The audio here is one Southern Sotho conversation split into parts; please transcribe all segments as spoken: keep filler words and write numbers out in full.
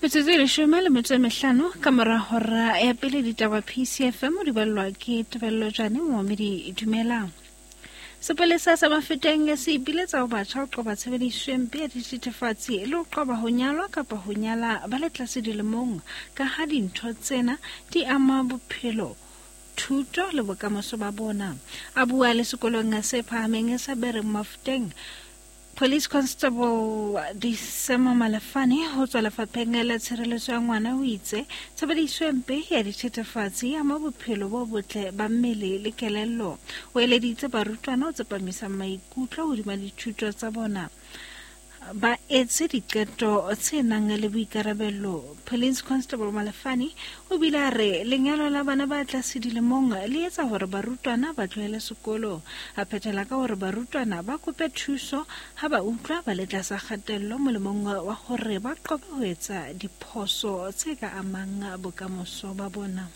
Metsotso e leshome le metso e mehlano ka mora hora ya pele ditaba P C F M di ballwa ke Tebello Jane Moomedi. Dumelang. Sepolesa sa Mafeteng se ipiletsa ho batjha ho qoba tshebediso e mpe ya dithethefatsi le ho qoba ho nyalwa kapa ho nyala ba le tlase dilemong, ka ha dintho tsena di ama bophelo, thuto le bokamoso ba bona. A bua le sekolong se phahameng sa Bereng Mafeteng, Police Constable Disema Malefane ho tswa lefapheng la tshireletso ya ngwana o itse tshebediso e mpe ya dithethefatsi e ama bophelo bo botle ba mmele le kelello. O eleditse barutwana ho tsepamisa maikutlo hodima dithuto tsa bona, ba etse diqeto tse nang le boikarabelo. Police Constable Malefane o bile a re lenyalo la bana ba tlase dilemong le etsa hore barutwana ba tlohele sekolo. A phethela ka hore barutwana ba kope thuso ha ba utlwa ba le tlasa kgatello molemong wa hore ba qobe ho etsa diphoso tse ka amang bokamoso ba bona.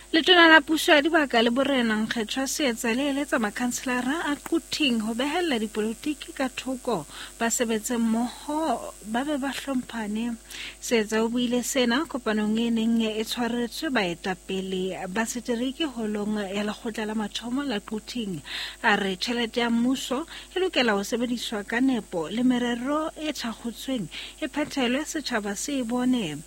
Letona la puso ya dibaka le borena Nkgethwa Seetsa le eletsa makhanselara a Quthing ho behella dipolotiki ka thoko, ba sebetse mmoho ba be ba hlomphane. Seetsa o buile sena kopanong e neng e tshwaretswe baetapele ba setereke holong ya lekgotla la mathomo la Quthing. A re tjhelete ya mmuso e lokela ho sebediswa ka nepo le merero e thakgotsweng e phethelwe setjhaba se e bone.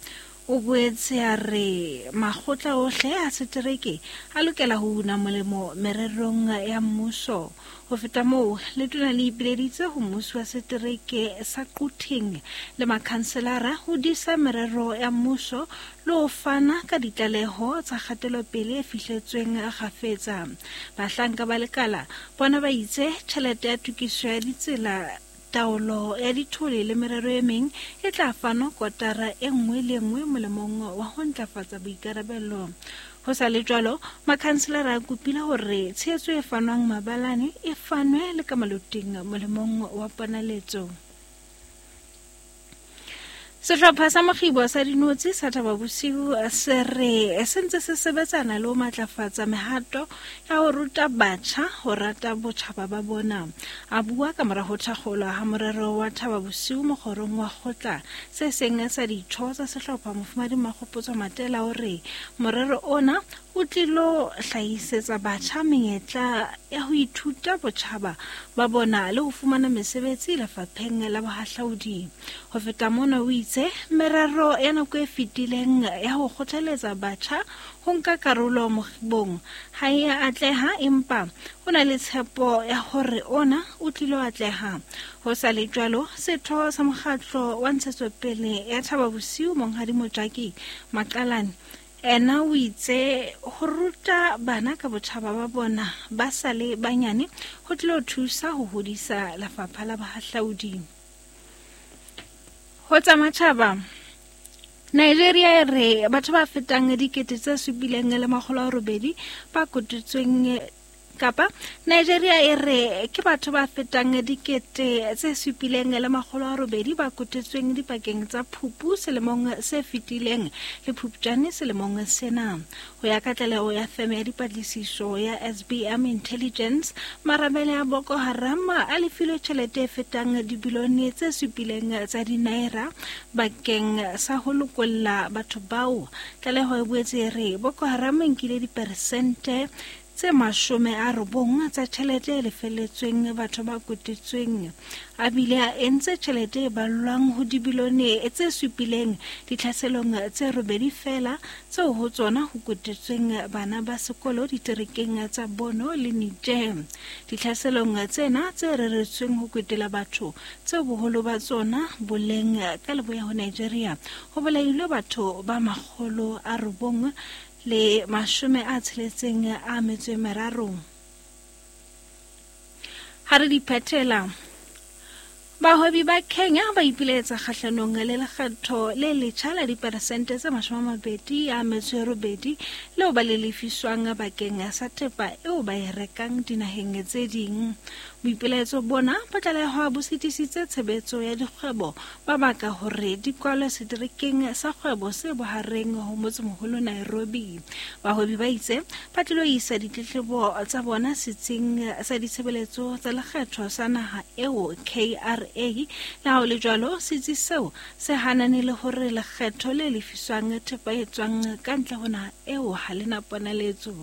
O boetse a re makgotla ohle a setereke a lokela ho una molemo mererong ya mmuso. Ho feta moo, letona le ipileditse ho mmuso wa setereke sa Quthing le makhanselara ho disa merero ya mmuso le ho fana ka ditlaleho tsa kgatelopele e fihletsweng kgafetsa. Bahlanka ba lekala bona ba itse tjhelete ya tokiso ya ditsela, taolo ya dithole le merero e meng e tla fanwa kotara e nngwe le nngwe molemong wa ho ntlafatsa boikarabelo. Ho sa le jwalo, makhanselara a kopile hore tshehetso e fanwang mabalane e fanwe le ka maloting molemong wa ponaletso. Sehlopha sa mokgibo sa dinotshi sa Thaba Bosiu se re se ntse se sebetsana le ho matlafatsa mehato ya ho ruta batjha ho rata botjhaba ba bona. A bua ka mora ho thakgolwa ha morero wa Thaba Bosiu mokgorong wa kgotla, se seng sa ditho tsa sehlopha Mofumadi Makgopotso Matela o re morero ona o tlilo hlahisetsa batjha menyetla ya ho ithuta botjhaba ba bona le ho fumana mesebetsi lefapheng la bohahlaudi. Ho feta mona o itse merero ya nako e fetileng ya ho kgothaletsa batjha ho nka karolo mokgibong ha e a atleha, empa ho na le tshepo ya hore ona o tlilo atleha. Ho sa le jwalo, setho sa mokgatlo wa ntshetsopele ya Thaba Bosiu Monghadi Mojaki Maqalane ena o itse ho ruta bana ka botjhaba ba bona ba sa le banyane ho tlilo thusa ho hodisa lefapha la bohahlaudi. Ho tsa matjhaba, Nigeria e re batho ba fetang dikete tse supileng le makgolo a robedi ba kotutsweng kapa Nigeria e re ke batho ba fetang dikete tse supileng le makgolo a robedi ba kotetsweng dipakeng tsa Phupu selemong se fetileng le Phupjane selemong sena. Ho ya ka tlaleho ya feme ya dipatlisiso ya S B M Intelligence, marabele a Boko Haram a lefilwe tjhelete e fetang dibilione tse supileng tsa dinaira bakeng sa ho lokolla batho bao. Tlaleho e boetse e re Boko Haram e nkile diperesente tse mashome a robong tsa tjhelete e lefelletsweng batho ba kotetsweng, a bile a entse tjhelete e ballwang ho dibilione tse supileng ditlhaselong tse robedi feela tseo ho tsona ho kotetsweng bana ba sekolo diterekeng tsa Borno le Niger. Ditlhaselong tsena tse reretsweng ho kwetela batho tseo boholo ba tsona bo leng ka leboya ho Nigeria, ho bolailwe batho ba makgolo a robong le mashome a tsheletseng a metso e meraro. Ha re di phethela, bahwebi ba Kenya ba ipiletsa kgahlanong le lekgetho le letjha la diperesente tse mashome a mabedi a metso e robedi leo ba le lefiswang bakeng sa thepa eo ba e rekang dinaheng tse ding. Boipelaetso bona bo tlalehwa bo sitisitse tshebetso ya dikgwebo ba baka hore di kwalwe seterekeng sa kgwebo se bohareng ho motsemoholo Nairobi. Bahwebi ba itse ba tlilo isa ditletlebo tsa bona setsing sa ditshebeletso tsa lekgetho sa naha eo K R A. Le ha ho le jwalo, setsi seo se hanane le hore lekgetho le lefiswang thepa e tswang ka ntle ho naha eo ha le na ponaletso.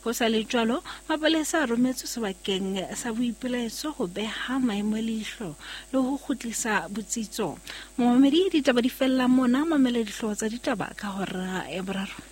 Ho sa le jwalo, mapolesa a rometswe sebakeng sa boipelaetso ho beha maemo leihlo le ho kgutlisa botsitso. Momamedi, ditaba di fella mona, mamela dihlooho tsa ditaba ka hora ya boraro.